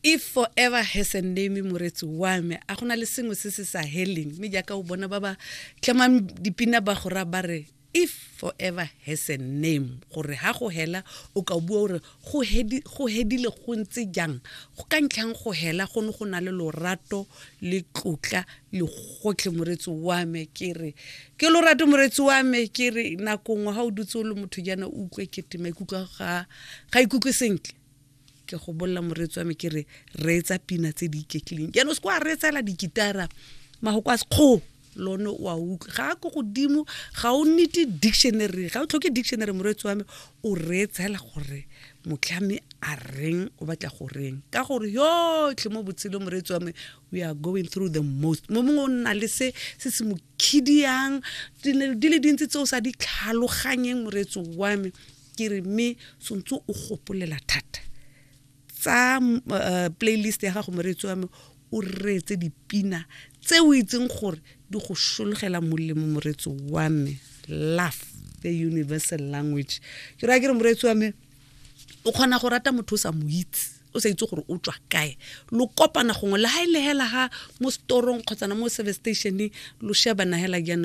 If forever has a name, moretsi wa me, a gona le sengwe se se sa heleng. Mme jaaka o bona ba ba tlamang dipina ba go raya ba re if forever has a name, gore ha go hela o ka bua gore go hedile go ntse jang, go ka ntlhang go hela go ne go na le lorato le tlotla le gotlhe. Moretsi wa me, ke re ke lorato. Moretsi wa me, ke re nako nngwe ga o dutse o le motho jaana, o utlwe kete maikutlo ga ikutlwe sentle, ke go bolela, moreetsi wa me, ke re reetsa pina tse di iketlileng. Jaanong se kwa reetsela dikitara, magoko a sekgo lone o a utlwa ga a ko godimo, ga o nete dictionary, ga o tlhoke dictionary. Moreetsi wa me, o reetsela gore motlhami a reng, o batla go reng, ka gore yotlhe mo botshelong, moreetsi wa me, we are going through the most. Mo mongwe o nna le se se se mo khidiang, di le dintsi tse o sa di tlhaloganyeng. Moreetsi wa me, ke re mme tshwanetse o gopolela thata tsa playlist ya gago, moreetsi wa me, o reetse dipina tse o itseng gore di go sologela molemo. Moreetsi wa me, love, the universal language. Ke raya ke re, moreetsi wa me, o kgona go rata motho o sa mo itse, o sa itse gore o tswa kae, lo kopana gongwe le ga e le hela ga mo storong kgotsana mo service stationeng, lo shebana hela jaana.